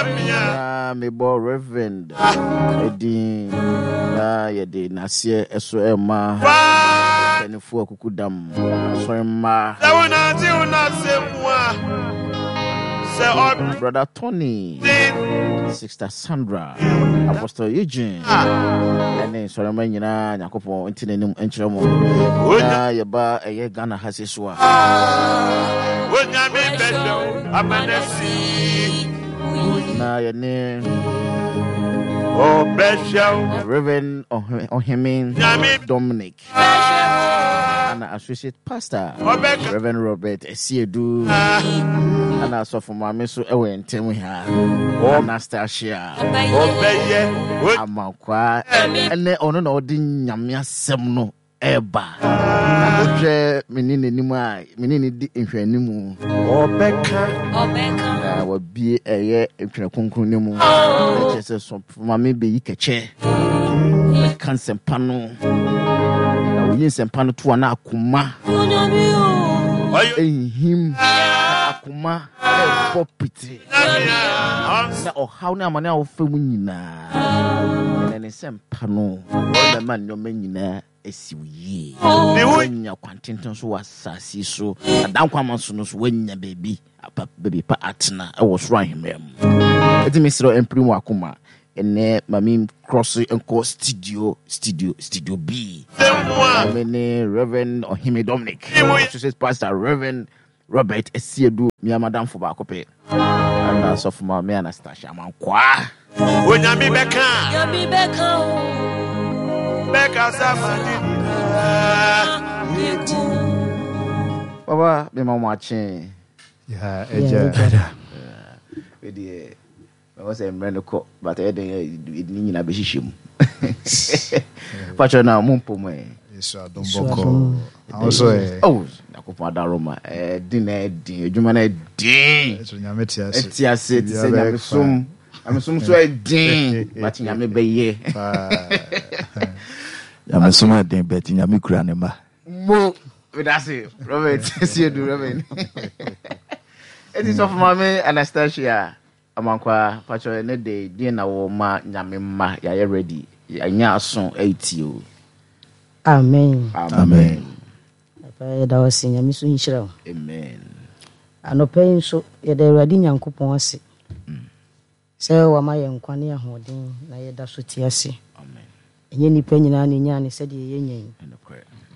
Na mebɔ Reverend edin na yɛde n'aseɛ ɛso ɛma mpanimfoɔ akukudam asɔre mma. Brother Tony, Sister Sandra, Apostle Eugene, ɛne nsɔrema nyinaa Nyankopɔn nti n'anim nkyerɛ mo. Na yɛba ɛyɛ Ghana ha se so a. Na yɛne Reverend Oheme Dominic ana Associate Pastor Reverend Robert Esiedu ana asɔfo maame so ɛwɔ yɛn ntam ha Anastasia Amankwa ɛnɛ ɔno na ɔde nyame asɛm no ɛreba na wohwɛ me ne n'anim a me ne ne di nhwɛanimu ɔbɛka na wabie ɛyɛ ntwerɛ kronkron no mu na kyerɛ sɛ sɔfo maame bɛyi kɛkyɛ bɛka nsɛmpa no na woyi nsɛmpa no to a na akoma ɛnhim na akoma ɛbɔ pitiri na ɔhaw ne amane a wofa mu nyinaa ɛnɛ ne nsɛmpa no ɔbɛma nneɛma nyinaa asi wo yie. Woanya kwantenten so wɔ asase yi so, na dankwama so no so woanya baabi apa baabi pa atena wɔ soro ahemman mu. Ɛti mesrɛ mpiri mu akoma ɛnɛ ma me cross nkɔ studio studio studio B. Me ne Reverend Ɔhene Dominic, Associate Pastor Reverend Robert Asiedu, me amadamfo baako pɛ. Ɛna asɔfo ma me Anastasia Amankwaa. Onyame bɛka. Nyame bɛka o. Bɛkasa ma ne nyinaa yɛdi. Papa, me ma mo akye. Ya, agya. Wedeɛ, mɛwɔ sɛ mmerɛ no kɔ, but ɛyɛ den ne nyinaa bɛhyehyɛ mu. Pakyɛ na mo mpɔ mu ɛ. Yesu adom bɔkɔ. Ahosuo ɛ. Oh, Nyankopɔn adaroma. Ɛden na ɛden, adwuma na ɛden. Ɛso Nyame te ase. Ɛte ase, te sɛ nyamesom. Nyamesom so ɛden, but Nyame bɛyɛ. Nyamesom ɛden, but Nyame kura ne mma. Mo, medase, Robert, Siedu, Robert. Eti sɔfo maame Anastasia Amankwa, pakyɛ ɛnɛ de deɛ na wɔ ma Nyame mma, yɛayɛ ready, yɛanya aso ɛretie o. Amen. Amen. Papa yɛda wo ase Nyame so nhyira wo. Amen. Anɔpa yi nso yɛda Awurade Nyankopɔn ase sɛ wama yɛn nkwa ne ahoɔden na yɛda so te ase. Amen. Ɛnyɛ nnipa nyinaa na ɛnyaa ne sɛdeɛ yɛnya yi.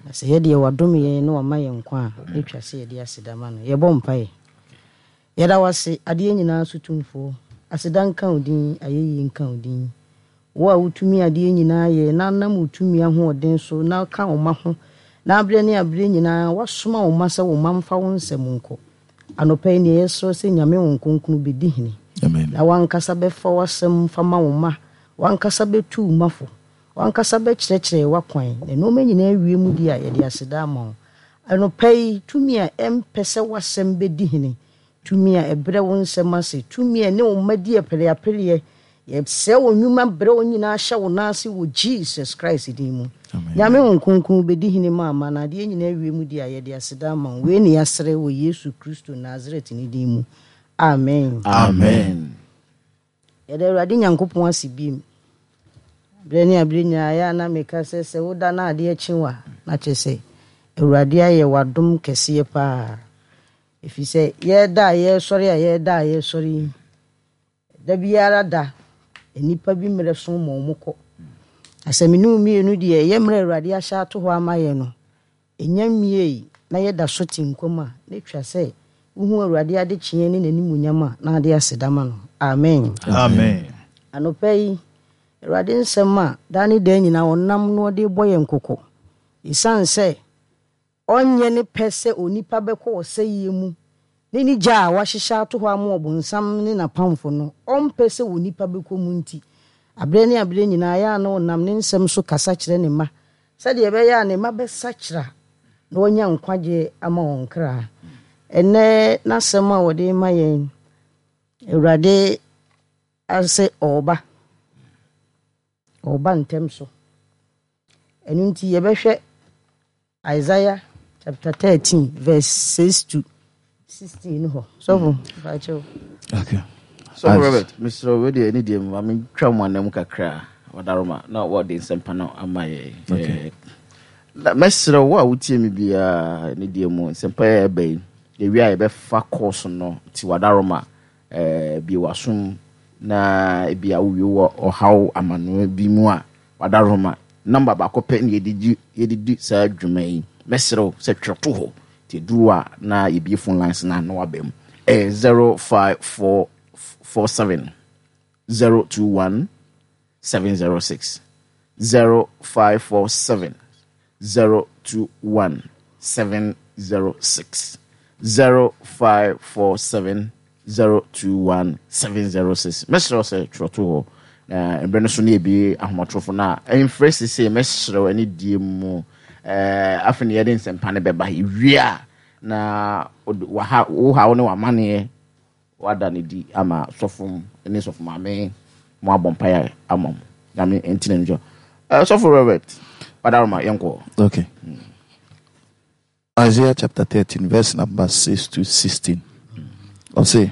Na sɛ yɛdeɛ wadom yɛn na wama yɛn nkwa a, na ɛtwa sɛ yɛde aseda ma no. Yɛbɔ mpaeɛ. Yɛda wo ase, adeɛ nyinaa so tumfoɔ. Aseda nka wo din, ayɛyie nka wo din. Wo a wotumi adeɛ nyinaa yɛ, na wonam wo tumi ahoɔden so na woka wo mma ho, na aberɛ ne aberɛ nyinaa woasoma wo mma sɛ wo mma mfa wo nsɛm nkɔ. Anɔpa yi neɛ yɛsrɛ sɛ Nyame Honhom Kronkron bɛdi hene, na w'ankasa bɛfa w'asɛm fa ma wo mma, w'ankasa bɛtu wo mma fo, w'ankasa bɛkyerɛkyerɛ w'akwan, na nnoɔma nyinaa awie mu deɛ a yɛde aseda ama wo. Anɔpa yi, tumi a ɛmpɛ sɛ w'asɛm bɛdi hene, tumi a ɛbrɛ wo nsɛm ase, tumi a ɛne wo mma di apereapereɛ, yɛsɛe wo nnwuma brɛ wo nyinaa hyɛ wo nan ase wɔ Jesus Christ din mu. Nyame Honhom Kronkron bɛdi hene ma ama na adeɛ nyinaa awie mu deɛ a yɛde aseda ama wo. Wei ne yɛasrɛ wɔ Yesu Kristo Nasaret ne din mu. Amen. Amen. Yɛda Awurade Nyankopɔn ase bio. Berɛ ne aberɛ nyinaa ɛyɛ a na meka sɛ sɛ woda na adeɛ kye wo a, na kyerɛ sɛ Awurade ayɛ w'adom kɛseɛ paa. Ɛfiri sɛ yɛda a yɛresɔre a yɛda a yɛresɔre yi, da biara da nnipa bi mmerɛ so ma wɔn kɔ. Na sɛ me ne wo mmienu deɛ ɛyɛ mmerɛ Awurade ahyɛ ato hɔ ama yɛn no, Ɛnya nwiei na yɛda so te nkwa mu a, na ɛtwa sɛ wohu Awurade adekyeɛ ne n'animuonyam a na ade aseda ma no. Amen. Amen. Anɔpa yi, Awurade nsɛm a daa ne daa nyinaa ɔnam na ɔde rebɔ yɛn kɔkɔ. Esiane sɛ ɔnyɛ ne pɛ sɛ onipa bɛkɔ ɔsɛeɛ mu ne ne gya a wahyehyɛ ato hɔ ama ɔbonsam ne n'apamfo no, ɔmpɛ sɛ onipa bɛkɔ mu nti, aberɛ ne aberɛ nyinaa ɛyɛ a na ɔnam ne nsɛm so kasa kyerɛ ne mma Sɛdeɛ ɛbɛyɛ a ne mma bɛsakyera na wɔanya nkwagyeɛ ama wɔn kra. Ɛnnɛ n'asɛm a wɔde rema yɛn, Awurade ase ɔreba, ɔreba ntɛm so. Ɛno nti yɛbɛhwɛ Isaiah chapter 13 verse 6 to 16 hɔ. Sɔfo, mm. Okay. Sɔfo Robert, mesrɛ wo, wei deɛ ɛne deɛ ma mentwa mo anam kakra, wadaroma na wɔde nsɛmpa no ama yɛ. Okay. Na mɛsrɛ wo a wotie me biara ne deɛ mu nsɛmpa yɛ ɛba yi, yɛwie a yɛbɛfa course no nti wadaroma bie w'asom na ebi a wowie wɔ ɔhaw amanoa bi mu a wadaroma nɔmba baako pɛ na yɛde gye yɛde di saa dwuma yi. Mɛsrɛ wo sɛ twerɛ to hɔ nti ɛduru a na yɛbie phone lines no a na waba mu. Ɛyɛ 0547 021 706 0547 021 706 0547 021 706. Mɛsrɛ wo sɛ twerɛ to hɔ na mmerɛ no so ne yɛbie ahomatorofo no a ɛmfrɛ sesei. Mɛsrɛ wo ɛne die mu afei ne yɛde nsɛmpa no bɛba yɛwie a na waha wo haw ne w'amanneɛ wada ne di ama sɔfo ne sɔfo maame mo abɔ mpaeɛ ama mo. Nyame nti na nkyɛ sɔfo Robert wadaroma yɛnkɔ. Okay. Isaiah chapter 13 verse number 6 to 16. Ɔse,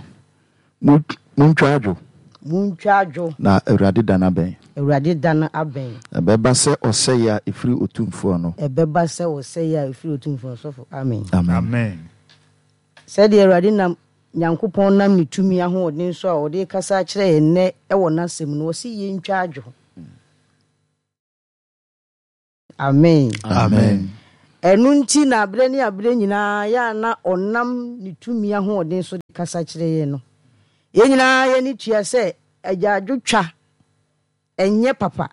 Montwa adwo. Montwa adwo. Na Awurade da no abɛn. Awurade da no abɛn. Ɛbɛba sɛ ɔsɛeɛ a ɛfiri Otumfoɔ no. Ɛbɛba sɛ ɔsɛeɛ a ɛfiri Otumfoɔ no. Sɔfo, amen. Amen. Amen. Sɛdeɛ Awurade nam Nyankopɔn nam ne tumi ahoɔden so a ɔde rekasa akyerɛ yɛn nnɛ wɔ n'asɛm no, ɔse yɛntwa adwo. Amen. Amen. Ɛno nti na aberɛ ne aberɛ nyinaa yɛ a na ɔnam ne tumi ahoɔden so de kasa kyerɛ yɛn no. Yɛn nyinaa yɛn ani tua sɛ agyaadwotwa ɛnyɛ papa.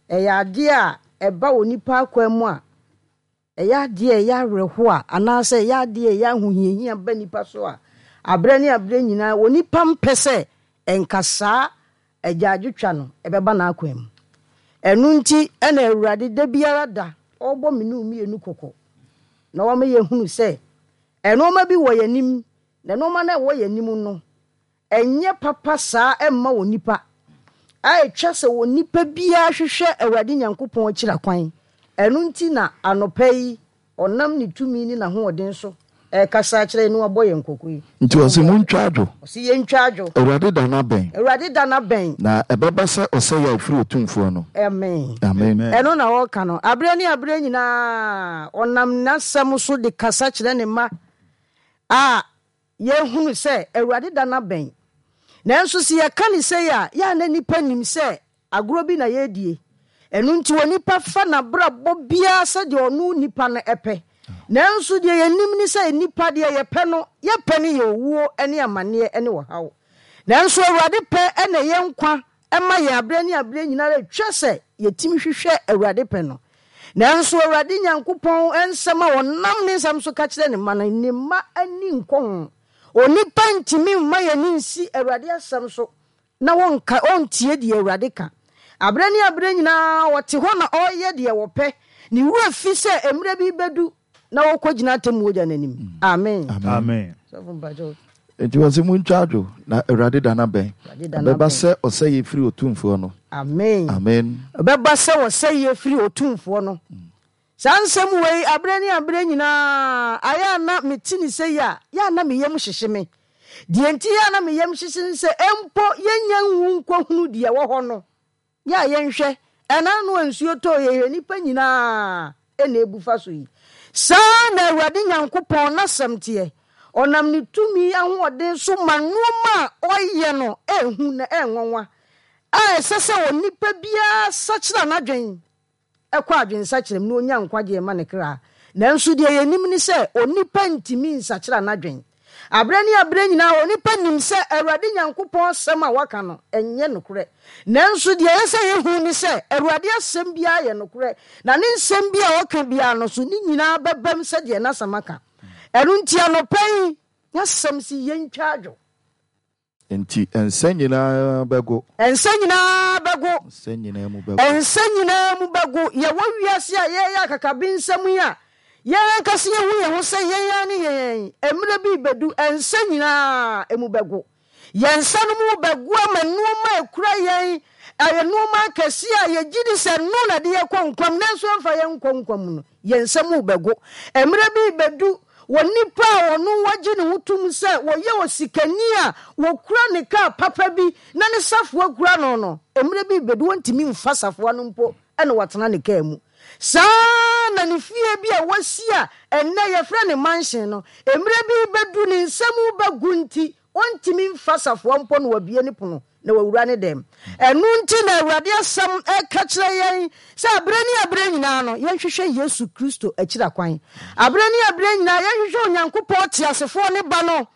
Ɛyɛ adeɛ a ɛba onipa akwan mu a, ɛyɛ adeɛ a ɛyɛ awerɛhoɔ a, anaasɛ ɛyɛ adeɛ a ɛyɛ ahohiahia ba nipa so a, aberɛ ne aberɛ nyinaa onipa mpɛ sɛ ɛnka saa agyaadwotwa no ɛbɛba n'akwan mu. Ɛno nti na Awurade da biara da ɔrebɔ me ne wo mmienu kɔkɔ na wama yɛahunu sɛ nnoɔma bi wɔ yɛn anim, na nnoɔma no a ɛwɔ yɛn anim no, ɛnyɛ papa saa mma onipa, a ɛtwa sɛ onipa biara hwehwɛ Awurade Nyankopɔn akyira kwan. Ɛno nti na anɔpa yi ɔnam ne tumi ne n'ahoɔden so rekasa akyerɛ yɛn na wabɔ yɛn kɔkɔ yi. Nti ɔse, Montwa adwo. Ɔse yɛntwa adwo. Awurade da no abɛn. Awurade da no abɛn. Na ɛbɛba sɛ ɔsɛeɛ a ɛfiri Otumfoɔ no. Amen. Amen. Ɛno na ɔreka no. Aberɛ ne aberɛ nyinaa ɔnam n'asɛm so de kasa kyerɛ ne mma a Yɛhunu sɛ Awurade da no abɛn. Nanso sɛ yɛka no sei a, yɛ a na nnipa nim sɛ agorɔ bi na yɛredie. Ɛno nti onipa fa n'abrabɔ biara sɛdeɛ ɔno nipa no pɛ. Nanso deɛ yɛnim ne sɛ nnipa deɛ yɛpɛ no, yɛpɛ no yɛ owuo ne amaneɛ ne ɔhaw. Nanso Awurade pɛ na ɛyɛ nkwa ma yɛn aberɛ ne aberɛ nyina ara ɛtwa sɛ yɛtumi hwehwɛ Awurade pɛ no. Nanso Awurade Nyankopɔn nsɛm a ɔnam ne nsɛm so ka kyerɛ ne mma no, ne mma ani nkɔ ho. Onipa ntumi mma yɛn ani nsi Awurade asɛm so na wɔnka, ɔntie deɛ Awurade ka. Aberɛ ne aberɛ nyinaa ɔte hɔ na ɔreyɛ deɛ ɔpɛ. Ne werɛ fi sɛ mmerɛ bi bɛdu na wɔkɔgyina atemmuo gya no anim. Amen. Amen. Sɔfo mpakyɛw. Enti wɔse, Montwa adwo, na Awurade da no abɛn. Awurade da no Ɛbɛba abɛn. sɛ ɔsɛeɛ firi Otumfoɔ no. Amen. Amen. Ɛbɛba sɛ ɔsɛeɛ firi Otumfoɔ no. Saa nsɛm wei, aberɛ ne aberɛ nyinaa, ayɛ a na mete ne sei a, yɛ a na me yam hyehye me. Deɛ nti yɛ a na me yam hyehye ne sɛ, mpo yɛnnya nwu nkɔhunu deɛ ɛwɔ hɔ no, Yɛ a yɛnhwɛ, ɛna ano a nsuo tɔɔ yɛ hwɛ nnipa nyinaa na ɛbu fa so yi. Saa ara na Awurade Nyankopɔn n'asɛm teɛ, ɔnam ne tumi ahoɔden so ma nnoɔma a ɔyɛ no yɛ hu na ɛyɛ nwanwa, a ɛsɛ sɛ onipa biara sakyera n'adwen kɔ adwensakyera mu na ɔnya nkwagyeɛ ma ne kra. Nanso deɛ yɛnim ne sɛ onipa ntumi nsakyera n'adwen. Aberɛ ne aberɛ nyinaa onipa nim sɛ Awurade Nyankopɔn asɛm a waka no nyɛ nokorɛ. Nanso deɛ ɛyɛ sɛ yɛhu ne sɛ Awurade asɛm biara yɛ nokorɛ, na ne nsɛm bi a ɔka biara no so ne nyinaa bɛbam sɛdeɛ n'asɛm aka. Ɛno nti anɔpa yi n'asɛm se yɛntwa adwo. Enti nsa nyinaa bɛgo. Nsa nyinaa bɛgo. Nsa nyinaa mu bɛgo. Nsa nyinaa mu bɛgo. Yɛwɔ wiase a yɛreyɛ akakabensɛm yi a, yɛn ankasa yɛhu yɛn ho sɛ yɛn ara ne yɛn yi. Mmerɛ bi rebɛdu, nsa nyinaa mu bɛgo. Yɛn nsa no mu bɛgo ama nnoɔma a ɛkura yɛn, ɛyɛ nnoɔma akɛseɛ a yɛgye di sɛ ɛno na ɛde yɛn kɔ nkwa mu, nanso ɛmfa yɛn nkɔ nkwa mu no, yɛn nsa mu rebɛgo. Mmerɛ bi rebɛdu, Onipa a ɔno wagye ne ho tom sɛ ɔyɛ osikani a ɔkura ne kaa papa bi na ne safoa kura no no, mmerɛ bi rebɛdu ɔntumi mfa safoa no mpo na watena ne kaa mu. Saa ara na ne fie bi a wasi a ɛnnɛ yɛfrɛ no mansion no, mmerɛ bi rebɛdu ne nsam rebɛgo nti ɔntumi mfa safoa mpo na wabue ne pono na wawura ne dɛm. Ɛno nti na Awurade asɛm ka kyerɛ yɛn sɛ aberɛ ne aberɛ nyinaa no, yɛnhwehwɛ Yesu Kristo akyira kwan. Aberɛ ne aberɛ nyinaa yɛnhwehwɛ Onyankopɔn teasefoɔ ne Ba no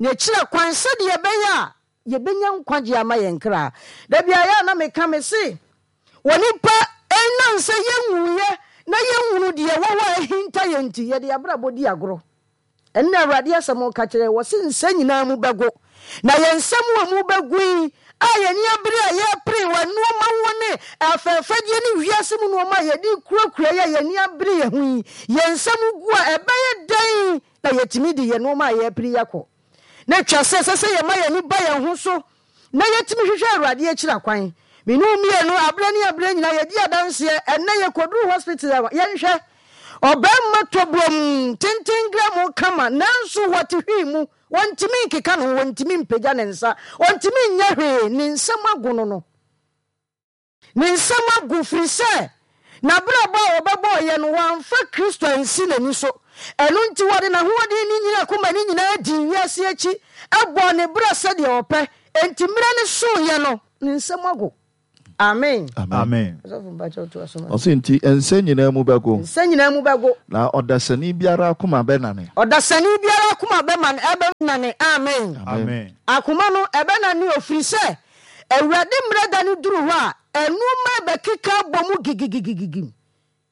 n'akyira kwan sɛdeɛ ɛbɛyɛ a yɛbɛnya nkwagyeɛ ama yɛn kra. Da biara yɛ a na meka me se, onipa ɛnam sɛ yɛnwuiɛ na yɛnhunu deɛ ɛwɔ hɔ a ahinta yɛn nti, yɛde yɛn abrabɔ di agorɔ. Ɛno na Awurade asɛm reka kyerɛ yɛn, wɔse nsa nyinaa mu bɛgo, na yɛn nsa mu a mu bɛgo yi, a yɛn ani abere a yɛrepere wɔ nnoɔma ho ne afɛɛfɛdeɛ ne wiase mu nnoɔma a yɛde kurakura yi a yɛn ani abere yɛn ho yi, yɛn nsa mu gu a, ɛbɛyɛ dɛn na yɛatumi de yɛn nnoɔma a yɛrepere yi akɔ? Na ɛtwa sɛ ɛsɛ sɛ yɛma yɛn ani ba yɛn ho so na yɛtumi hwehwɛ Awurade akyiri akwan. Me ne wo mmienu, aberɛ ne aberɛ nyinaa yɛdi adanseɛ. Ɛnnɛ yɛkɔduru hospital a, yɛnhwɛ. Ɔbarima tɔbrom, tenten grɛmo kama, nanso wɔte hwee mu. Ɔntumi nkeka ne ho, ɔntumi mpagya ne nsa, ɔntumi nyɛ hwee, ne nsam agono no. Ne nsam agu, firi sɛ n'abrabɔ a ɔbɛbɔeɛ no, wamfa Kristo ansi n'ani so. Ɛno nti wɔde n'ahoɔden ne nyini akoma no nyinaa dii wiase akyi, bɔɔ ne bra sɛdeɛ ɔpɛ. Enti mmerɛ no soeɛ no, ne nsam ago. Amen. Amen. Ɔsɔfo mpakyɛw toa so ma. Ɔse nti nsa nyinaa mu bɛgo. Nsa nyinaa mu bɛgo. Na ɔdasani biara akoma bɛnane. Ɔdasani biara akoma bɛmane, ɛbɛnane. Amen. Amen. Akoma no, ɛbɛnane o, firi sɛ Awurade mmerɛ da no duru hɔ a, nnoɔma rebɛkeka abɔ mu gigigigigim.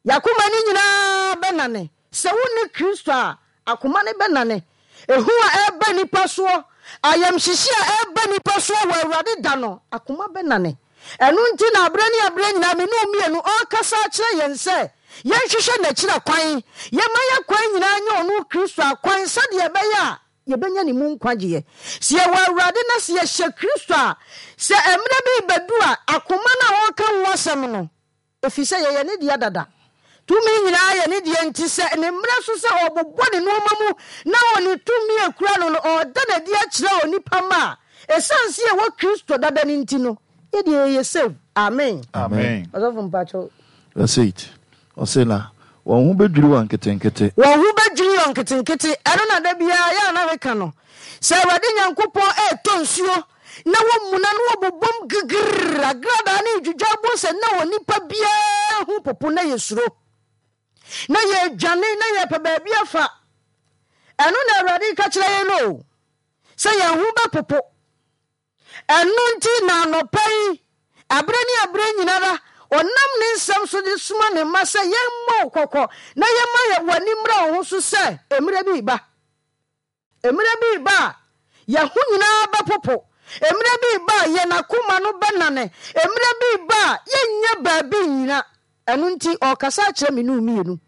Y'akoma no nyinaa bɛnane. Sɛ wonni Kristo a, akoma no bɛnane. Ehu a ɛreba nnipa soɔ, ayamhyehye a ɛreba nnipa soɔ wɔ Awurade da no, akoma bɛnane. Ɛno nti na aberɛ ne aberɛ nyinaa me ne wo mmienu ɔrekasa akyerɛ yɛn sɛ yɛnhwehwɛ N'akyiri akwan, yɛmma y'akwan nyinaa nyɛ Ɔno Kristo akwan sɛdeɛ ɛbɛyɛ a Yɛbɛnya ne mu nkwagyeɛ. Sɛ yɛwɔ Awurade na sɛ yɛhyɛ Kristo a, sɛ mmerɛ bi rebɛdu a, akoma no a ɔreka ho asɛm no, ɛfiri sɛ yɛyɛ ne dea dada. Tumi nyinaa yɛ ne dea nti sɛ ne mmerɛ so sɛ ɔrebobɔ ne nnoɔma mu na ɔne tumi a ɛkura no no ɔreda no adi akyerɛ onipa mma a, ɛsiane sɛ yɛwɔ Kristo dada no nti no, yɛ deɛ yɛyɛ save. Amen. Amen. Ɔsɔfo mpakyɛw. Verse 8, ɔse na wɔn ho bɛdwiri wɔn nketenkete. Wɔn ho bɛdwiri wɔn nketenkete. Ɛno na da biara yɛ a na meka no. Sɛ Awurade Nyankopɔn retɔ nsuo na wɔmuna na wɔbobom gigirr, agradaa ne redwidwa abom sɛ na onipa biara ho popo na yɛsuro. Na yɛredwane na yɛrepɛ baabi afa. Ɛno na Awurade reka kyerɛ yɛn no o. Sɛ yɛn ho bɛpopo. Ɛno nti na anɔpa yi, aberɛ ne aberɛ nyinara, ɔnam ne nsɛm so de soma ne mma sɛ yɛmmɔ wo kɔkɔ na yɛmma yɛ w'ani mmra wo ho so sɛ mmerɛ bi reba. Mmerɛ bi reba a yɛn ho nyinaa bɛpopo. Mmerɛ bi reba a yɛn akoma no bɛnane. Mmerɛ bi reba a yɛnnya baabi nnyina. Ɛno nti ɔrekasa akyerɛ me ne wo mmienu.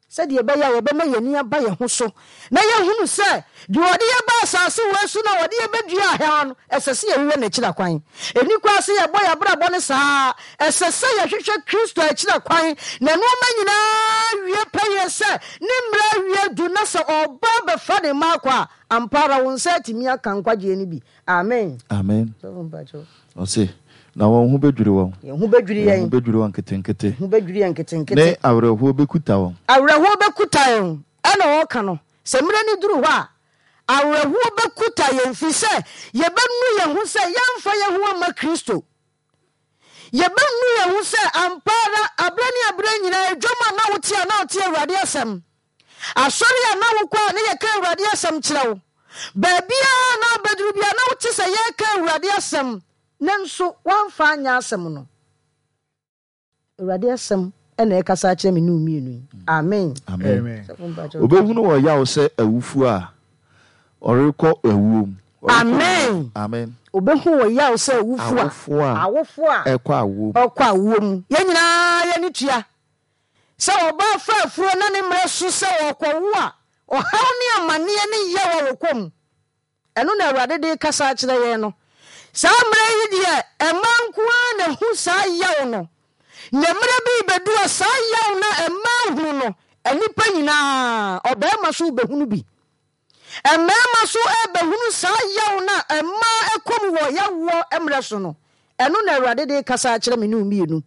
Sɛdeɛ ɛbɛyɛ a yɛbɛma yɛn ani aba yɛn ho so na yɛahunu sɛ deɛ ɔde yɛn ba asase wei so na ɔde yɛn bɛdua ha no, ɛsɛ sɛ yɛhwehwɛ n'akyiri akwan. Ɛnni kwan sɛ yɛbɔ yɛn abrabɔ no saa. Ɛsɛ sɛ yɛhwehwɛ Kristo akyiri akwan na nneɛma nyinaa wie pɛyɛ sɛ ne mmerɛ awie du na sɛ ɔreba abɛfa ne mma akɔ a, ampa ara wo nsa atumi aka nkwagyeɛ no bi. Amen. Amen. Ɔse, na wɔn ho bɛdwiri wɔn. Yɛn ho bɛdwiri yɛn. Yɛn ho bɛdwiri wɔn nketenkete. Yɛn ho bɛdwiri yɛn nketenkete. Ne awerɛhoɔ bɛkuta wɔn. Awerɛhoɔ bɛkuta yɛn. Ɛna ɔreka no, sɛ mmerɛ no duru hɔ a, awerɛhoɔ bɛkuta yɛn, firi sɛ yɛbɛnu yɛn ho sɛ yɛamfa yɛn ho amma Kristo. Yɛbɛnu yɛn ho sɛ ampa ara, aberɛ ne aberɛ nyinaa, dwam a na wote a na wote Awurade asɛm. Asɔre a na wokɔ a na yɛka Awurade asɛm kyerɛ wo. Baabiara a na wobɛduru biara na wote sɛ yɛreka Awurade asɛm, nanso woamfa anyɛ asɛm no. Awurade asɛm na ɛrekasa akyerɛ me ne wo mmienu yi. Amen. Amen. Obɛhunu wɔ yaw sɛ awufoɔ a ɔrekɔ awuo mu. Amen. Amen. Obɛhu wɔ yaw sɛ awufoɔ a awofoɔ a ɛkɔ awuo mu. Ɔkɔ awuo mu. Yɛn nyinaa yɛn ani tua Sɛ ɔbaa fa afuro na ne mmerɛ so sɛ ɔrekɔwo a, ɔhaw ne amaneɛ ne yaw a wɔkɔ mu. Ɛno na Awurade de rekasa akyerɛ yɛn no. Saa mmerɛ yi deɛ, mmaa nko ara na ɛhu saa yaw no. Na mmerɛ bi rebɛdu a saa yaw no a mmaa hunu no, Nnipa nyinaa, ɔbarima so rebɛhunu bi. Mmarima nso rebɛhunu saa yaw no a mmaa kɔ mu wɔ yawoɔ mmerɛ so no. Ɛno na Awurade de rekasa akyerɛ me ne wo mmienu,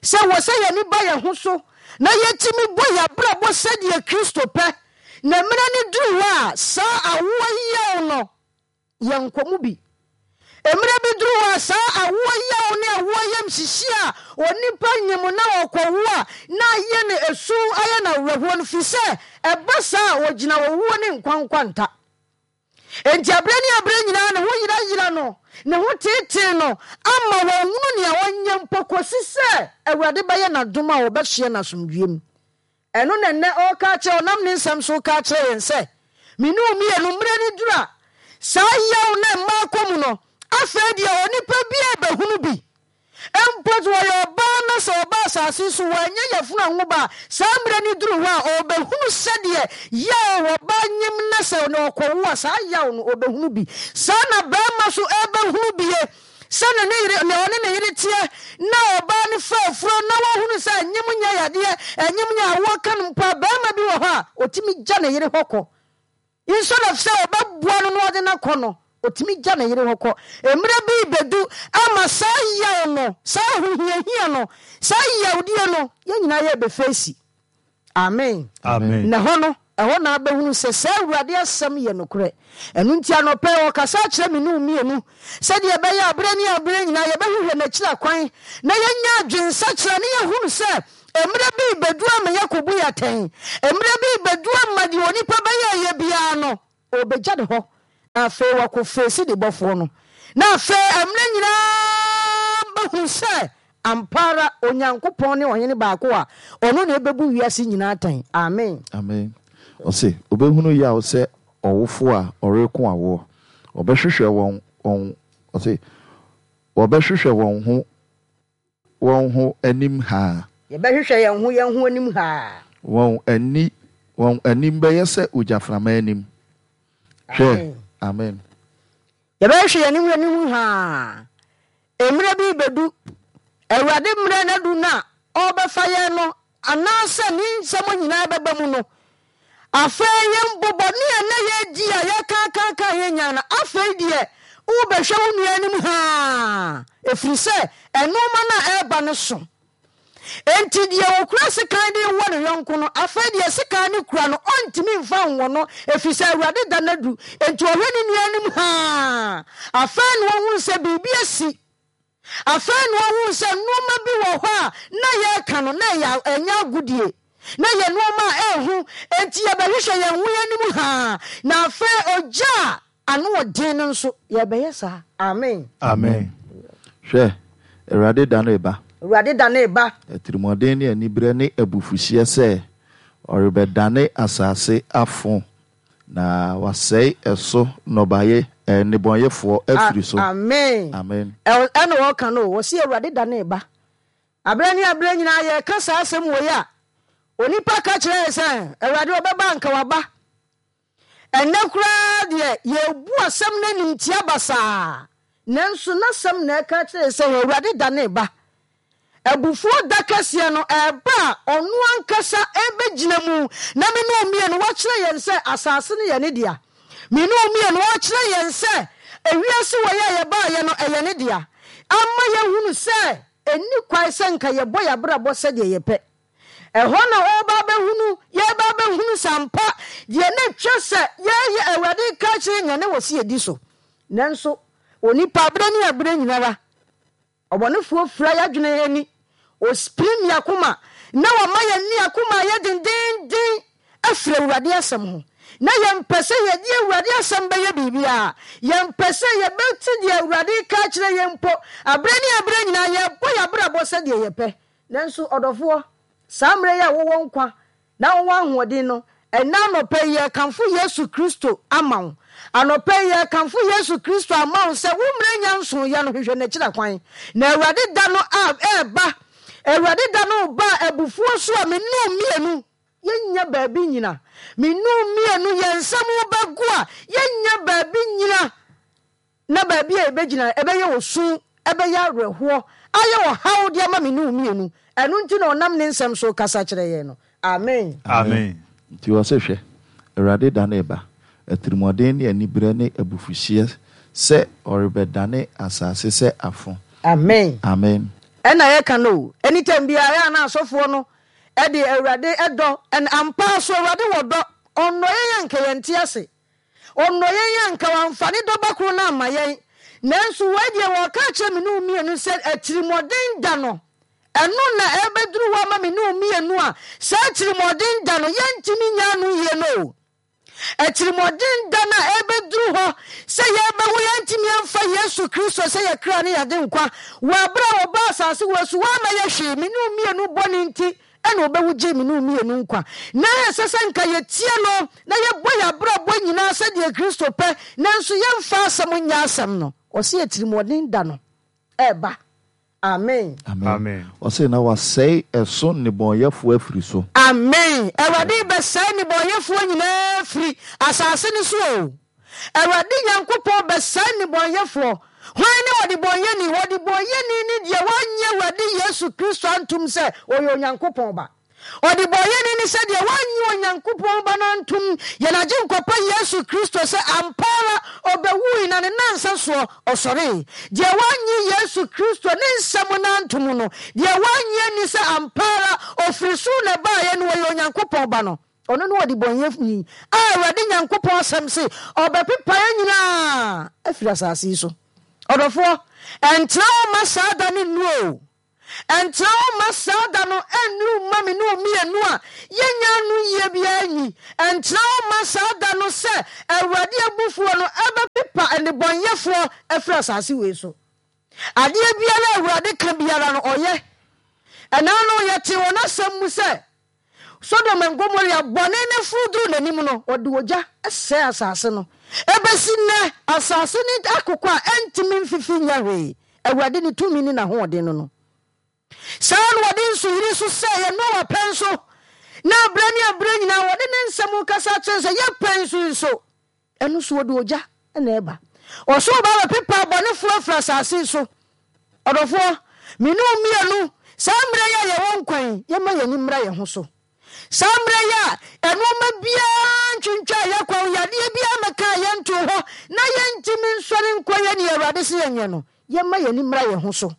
sɛ wɔ sɛ yɛn ani ba yɛn ho so na yɛtumi bɔ yɛn abrabɔ sɛdeɛ Kristo pɛ, na mmerɛ no duru hɔ a, saa awoɔ yaw no, yɛnkɔ mu bi. Mmerɛ bi duru hɔ a, saa awoɔ yaw ne awoɔ yamhyehyeɛ a onipa nyem na ɔkɔwo a na ayɛ no esu, ayɛ no awerɛhoɔ no, firi sɛ ɛba saa a, ɔgyina owuo ne nkwa nkwanta. Enti aberɛ ne aberɛ nyinaa ne ho yerayera no, ne ho teetee no, ama wanhunu nea ɔnyɛ mpo kɔsi sɛ Awurade bɛyɛ no adom a ɔbɛsoɛ no asomdwoeɛ mu. Ɛno na nnɛ ɔreka akyerɛ, ɔnam ne nsɛm so reka akyerɛ yɛn sɛ, Me ne wo mmienu, mmerɛ no duru a, saa yaw no a mmaa kɔ mu no, afei deɛ onipa biara rebɛhunu bi. Mpo sɛ ɔyɛ ɔbaa na sɛ ɔba asase so wannya yafunu anwo ba a, saa mmerɛ no duru hɔ a, ɔrebɛhunu sɛdeɛ yaw ɔbaa nyem na sɛ ɔkɔwo a, saa yaw no ɔbɛhunu bi. Saa na barima nso rebɛhunu bie. Sɛ ne ne yere, nea ɔne ne yere teɛ, na ɔbaa no fa afuro na wahunu sɛ anyem nyɛ yadeɛ, anyem nyɛ awoɔ ka no mpo a, barima bi wɔ hɔ a, ɔtumi gya ne yere hɔ kɔ. Instead of sɛ ɔbɛboa no na ɔde no akɔ no, ɔtumi gya ne yere hɔ kɔ. Mmerɛ bi rebɛdu ama saa yaw no, saa ahohiahia no, saa yawdie no, yɛn nyinaa yɛrebɛfeesi. Amen. Amen. Na ɛhɔ no, ɛhɔ na abɛhunu sɛ saa Awurade asɛm yɛ nokorɛ. Ɛno nti anɔpa yi ɔkasa akyerɛ me ne wo mmienu sɛdeɛ ɛbɛyɛ a berɛ ne aberɛ nyinaa yɛbɛhwehwɛ n'akyiri akwan na yɛanya adwensakyera ne yɛahunu sɛ mmerɛ bi rebɛdu ama yɛakɔbu yɛn atɛn. Mmerɛ bi rebɛdu ama deɛ onipa bɛyɛeɛ biara no, Ɔrebɛgya ne hɔ, na afei wakɔ feesi ne bɔfoɔ no. Na afei mmerɛ nyinaa bɛhunu sɛ ampa ara Onyankopɔn ne Ɔhene baako a ɔno na ɛbɛbu wiase nyinaa atɛn. Amen. Amen. Ɔse, ɔbɛhunu yaw sɛ ɔwofoɔ a ɔreko awoɔ. Ɔbɛhwehwɛ wɔn, wɔn, ɔse, wɔbɛhwehwɛ wɔn ho wɔn ho anim haa. Yɛbɛhwehwɛ yɛn ho yɛn ho anim haa. Wɔn ani, wɔn anim bɛyɛ sɛ ogyaframa anim. Hwɛ! Amen. Yɛbɛhwehwɛ yɛn ho yɛn anim haa. Mmerɛ bi rebɛdu, Awurade mmerɛ no adu no a ɔrebɛfa yɛn no, anaasɛ ne nsɛm nyinaa bɛba mu no, afei yɛn mpo bɔne a na yɛredi a yɛkaakaaka yɛn nyaa no, afei deɛ wobɛhwɛ wo nua anim haa, ɛfiri sɛ nnoɔma no a ɛreba no so. Enti deɛ ɔkura sekan de rewɔ ne yɔnko no, afei deɛ sekan no kura no, ɔntumi mfa nwɔ no, ɛfiri sɛ Awurade da no adu. Enti ɔhwɛ ne nua anim haa, afei na ɔhunu sɛ biribi asi. Afei na ɔhuu sɛ nnoɔma bi wɔ hɔ a na yɛreka no, na ɛyɛ ɛnyɛ agodie. Na ɛyɛ nnoɔma a ɛyɛ hu, enti yɛbɛhwehwɛ yɛn ho yɛn anim haa. Na afei ogya a ano wɔ den no nso, yɛrebɛyɛ saa. Amen. Amen. Hwɛ, Awurade da no reba. Awurade da no reba. Atirimuɔden ne aniberɛ ne abufuhyeɛ sɛ ɔrebɛdane asase afo Na wasɛe ɛso nnɔbaeɛ, ɛɛ, nnebɔneyɛfoɔ afiri so. Amen. Amen. Ɛna ɔreka no o, ɔse Awurade da no reba. Aberɛ ne aberɛ nyinaa yɛreka saa asɛm wei a, onipa ka kyerɛ yɛn sɛ, Awurade ɔbɛba anka waba. Ɛnnɛ koraa deɛ yɛrebu asɛm no animtia basaa, nanso n'asɛm na ɛka kyerɛ yɛn sɛ Awurade da no reba. Abufuo da kɛseɛ no reba a ɔno ankasa rebɛgyina mu, na me ne wo mmienu wakyerɛ yɛn sɛ asase no yɛ ne dea. Me ne wo mmienu ɔrekyerɛ yɛn sɛ ewiase wei a yɛbaeɛ no ɛyɛ ne dea. Ama yɛahunu sɛ ɛnni kwan sɛ nka yɛbɔ yɛn abrabɔ sɛdeɛ yɛpɛ. Ɛhɔ na ɔreba abɛhunu, yɛreba abɛhunu sɛ ampa deɛ na ɛtwa sɛ yɛyɛ Awurade reka akyerɛ yɛn na wɔ sɛ yɛdi so. Nanso onipa berɛ ne aberɛ nyinara Ɔbɔnefoɔ fira y'adwene ani, ɔspirim y'akoma, na wama yɛn akoma ayɛ dendeenden afiri Awurade asɛm ho. Na yɛmpɛ sɛ yɛde Awurade asɛm bɛyɛ biribiara. Yɛmpɛ sɛ yɛbɛte deɛ Awurade reka akyerɛ yɛn mpo. Aberɛ ne aberɛ nyinaa yɛbɔ y'abrabɔ sɛdeɛ yɛpɛ. Nanso ɔdɔfoɔ, saa mmerɛ yi a wowɔ nkwa na wowɔ ahoɔden no, ɛnnɛ anɔpa yi yɛrekamfo Yesu Kristo ama wo. Anɔpa yi yɛrekamfo Yesu Kristo ama wo sɛ wo mmerɛ nya nsoeɛ no, hwehwɛ n'akyira kwan. Na Awurade da no a ɛreba, Awurade da no reba a abufuo so a me ne wo mmienu yɛnnya baabi nnyina. Me ne wo mmienu yɛn nsam bɛgo a yɛnnya baabi nnyina. Na baabi a yɛbɛgyina, ɛbɛyɛ osu, ɛbɛyɛ awerɛhoɔ, ayɛ ɔhaw de ama me ne wo mmienu. Ɛno nti na ɔnam ne nsɛm so rekasa kyerɛ yɛn no. Amen. Amen. Nti ɔse, Hwɛ, Awurade da no reba, atirimuɔden ne aniberɛ ne abufuhyeɛ sɛ ɔrebɛdane asase sɛ afo. Amen. Amen. Ɛna yɛka no o, anytime biara ɛyɛ a na asɔfoɔ no de Awurade dɔ, and ampa ara so Awurade wɔ dɔ, ɔnnɔ yɛn a nka yɛnte ase. Ɔnnɔ yɛn a anka wamfa ne dɔba koro no amma yɛn. Nanso wei deɛ wɔreka akyerɛ me ne wo mmienu sɛ atirimuɔden da no, ɛno na ɛrebɛduru hɔ ama me ne wo mmienu a saa atirimuɔden da no yɛntumi nyɛ ano yie no o. Atirimuɔden da no a ɛrebɛduru hɔ sɛ yɛrebɛwu yɛntumi amfa Yesu Kristo sɛ yɛn kra ne yɛn adenkwa wɔ aberɛ a ɔbaa asase wei so wammɛyɛ hwee me ne wo mmienu bɔne nti ɛna ɔbɛwu gyee me ne wo mmienu nkwa. Ná ɛsɛ sɛ nka yɛtie no na yɛbɔ yɛn abrabɔ nyinaa sɛdeɛ Kristo pɛ, nanso yɛmfa asɛm nyɛ asɛm no. Ɔse atirimuɔden da no ɛreba. Amen. Amen. Ɔse na wasɛe ɛso nnebɔnyɛfoɔ afiri so. Amen. Awurade rebɛsɛe nnebɔnyɛfoɔ nyinaa afiri asase no so o. Awurade Nyankopɔn bɛsɛe nnebɔnyɛfoɔ. Hwan ne ɔdebɔnyɛni? Ɔdebɔnyɛni ne deɛ wannye Awurade Yesu Kristo antom sɛ ɔyɛ Onyankopɔn Ba. Ɔdebɔnyɛni ne sɛ deɛ wannye Onyankopɔn Ba no antom, yɛn Agyenkwa pa Yesu Kristo sɛ ampa ara ɔbɛwui na ne nnansa soɔ ɔsɔree. Deɛ wannye Yesu Kristo ne nsɛm no antom no, deɛ wannye anni sɛ ampa ara ɔfiri soro na ɛbaeɛ na ɔyɛ Onyankopɔn Ba no, Ɔno ne ɔdebɔneyɛni a Awurade Nyankopɔn asɛm se ɔbɛpepa yɛn nyinaa afiri asase yi so. Ɔdɔfoɔ, ɛntena hɔ mma saa da no nnu o. Ɛntena hɔ mma saa da no nnuru mma me ne wo mmienu a yɛnnya ano yie biara nyi. Ɛntena hɔ mma saa da no sɛ Awurade abufuo no ɛbɛpepa nnebɔneyɛfoɔ afiri asase wei so. Adeɛ biara a Awurade ka biara no, ɔyɛ. Ɛnaa no, yɛtee wɔ n'asɛm mu sɛ, Sodom and Gomorrah bɔne no foro duruu n'anim no, ɔde ogya sɛee asase no. Ɛbɛsi nnɛ, asase no akokɔ a ɛntumi mfifi nyɛ hwee. Awurade ne tumi ne n'ahoɔden no no. Saa ara na wɔde nsuyiri nso sɛeɛ Noa pɛn so, na berɛ ne aberɛ nyinaa wɔde ne nsɛm rekasa akyerɛ no sɛ, Yɛ pɛn so nso. Ɛno nso wɔde ogya na ɛba. Ɔsoro ba bɛpepa abɔnefoɔ afiri asase yi so. Ɔdɔfoɔ, me ne wo mmienu, saa mmerɛ yi a yɛwɔ nkwa yi, yɛmma yɛn ani mmra yɛn ho so. Saa mmerɛ yi a nnoɔma biara ntwintwaa yɛn kwan, yadeɛ biara mmɛkaa yɛn ntoo hɔ, na yɛntumi nsɔre nkɔ yɛ deɛ Awurade se yɛnyɛ no, yɛmma yɛn ani mmra yɛn ho so.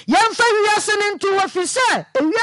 Yɛmfa wiase no nto hɔ, ɛfiri sɛ ewiase.